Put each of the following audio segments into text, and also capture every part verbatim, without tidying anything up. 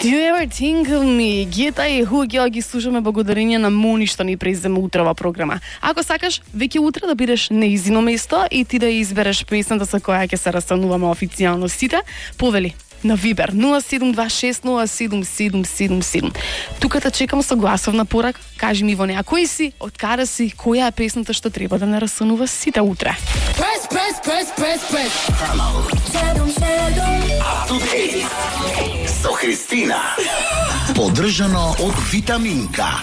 Do you ever think of me? Гета и Хугел ги слушаме благодарение на Мони што ни преземе утрова програма. Ако сакаш веќе утре да бидеш неизино место и ти да избереш песната со која ќе се растануваме официјално сите, повели на Вибер нула седум два шест нула седум седум седум седум. Тука те чекам со гласовна порака. Кажи ми во неа кој си, од каде си, која е песната што треба да не растанува сите утре. Press, press, press, press, press. Up to date со Христина. Поддржано од Витаминка.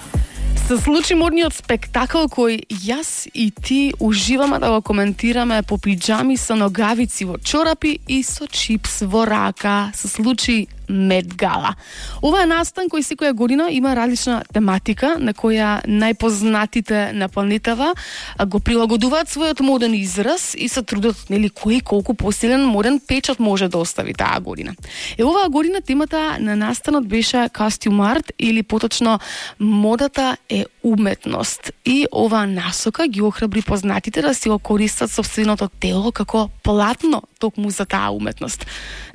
Се случи модниот спектакл кој јас и ти уживаме да го коментираме по пиџами со ногавици во чорапи и со чипс во рака. Се случи Мед Гала. Ова е настан кој секоја година има различна тематика на која најпознатите на планетава го прилагодуваат својот моден израз и се трудат нели кој колку посилен моден печат може да остави таа година. Е оваа година темата на настанот беше costume art или поточно модата е уметност. И оваа насока ги охрабри познатите да си го користат сопственото тело како платно токму за таа уметност.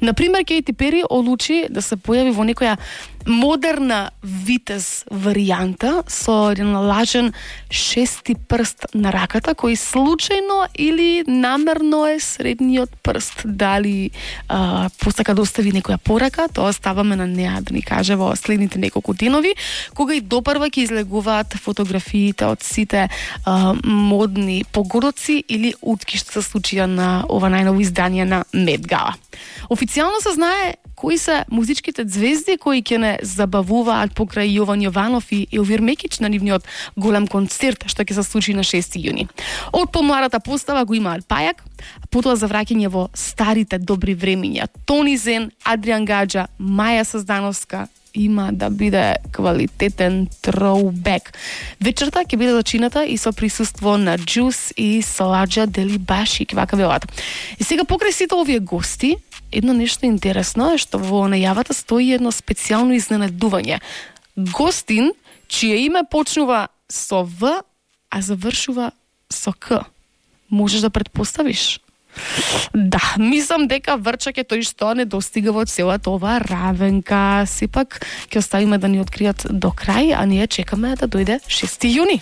Например, Кейти Пери одлучи да се појави во некоја модерна витез варијанта со еден лажен шести прст на раката, кој случајно или намерно е средниот прст. Дали а, посака да остави некоја порака, тоа ставаме на неа да ни каже во следните неколку денови, кога и допрва ќе излегуваат фотографиите од сите а, модни погодоци или утки што се случија на ова најново издание на Мед Гала. Официјално се знае кои се музичките звезди кои ќе не забавуваат покрај Јован Јованов и Елвир Мекич на нивниот голем концерт што ќе се случи на шести јуни. Од помладата постава го имаат Пајак, потоа за враќање во старите добри времиња Тони Зен, Адриан Гаџа, Маја Саздановска, има да биде квалитетен троубек. Вечерта ќе биде зачината и со присуство на Джус и Салаџа Делибаши, вака велат. И сега покрај сите овие гости, едно нешто интересно е што во најавата стои едно специјално изненадување. Гостин, чие име почнува со В, а завршува со К. Можеш да предпоставиш? Да, мислам дека Врчак е тој што не достига во целата ова равенка. Сепак ќе оставиме да ни откријат до крај, а ние чекаме да дојде шести јуни.